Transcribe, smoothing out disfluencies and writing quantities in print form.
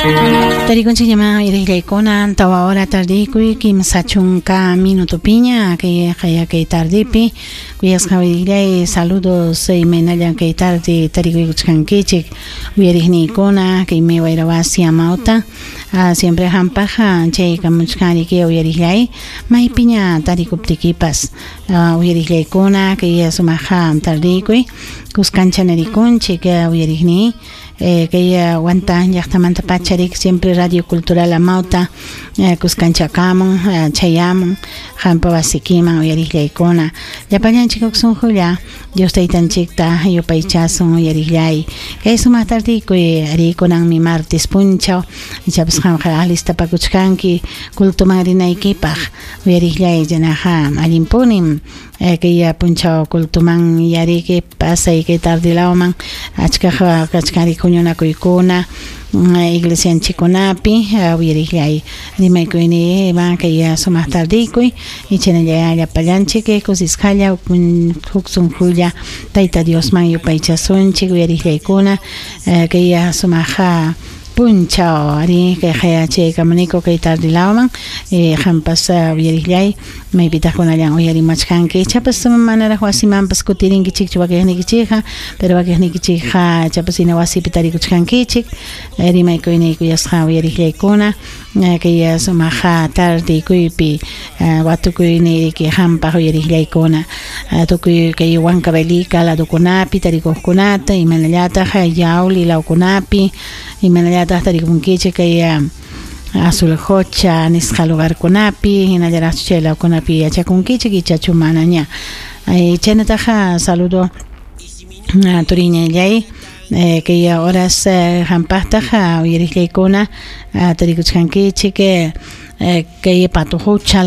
Tarikunchikñamá uyariqllaykuna 4 hora tardikuy 30 minutopiña kay qaya kay tardipi kuyasqa uyariqllay saludos imaynallan kay tarde tarikuykuchkankichik uyariqniykuna kaymi wayrawasi amawta siempre hampaqqa chaykamuchkanriki uyariqllay maypiña tarikuptikipas uyariqllaykuna kay sumaqqa tardikuy kuskancha narikunchik uyariqniy kay Huanta llaqtamanta pacharik siempre Radio Cultural Amauta kuskanchakamun chayamun hampa wasikiman uyariqllaykuna llapallanchik huk sunqulla Dios taytanchikta yupaychasun uyariqllay kay sumaq tardikuy arikunanmi martes punchaw ichapas qamqa alistapakuchkanki cultuman rinaykipaq uyariqllay chaynaqa allinpunim kay punchaw cultuman yariki pasay kay tardilawman achkaq kachkanri huñunakuykuna iglesianchikkunapi uyariqllay rimaykuyni ima kay sumaq tardikuy ichanalla llapallanchik kusisqalla huk sunqulla Tayta Diosman yupaychasunchik uyariqllaykuna kay sumaq punchaw ari kay chaykamuniku kay tardilawman qampas uyariqllay maypitaq kunallan uyarimachkanki ichapas manaraq wasimanpas kutirinkichikchu wakiqnikichikqa pero wakiqnikichikqa ichapas hina wasipi tarikuchkankichik rimaykuyni kuyasqa uyariqllaykuna kay sumaq tardikuypi watukuyniyki qampaq uyariqllaykuna tukuy kay Huancavelica ladokunapi tarikuqkunata imanallataq Yauli lawkunapi imanallataq tarikunkichik kay Azuljocha nisqa lugarkunapi hinallaraqchu chay lawkunapi yachakunkichik ichachu manaña chaynataqa saludo turiñallay kay horas hampaqtaq uyariqllaykuna tarikuchkankichik kay Patujucha.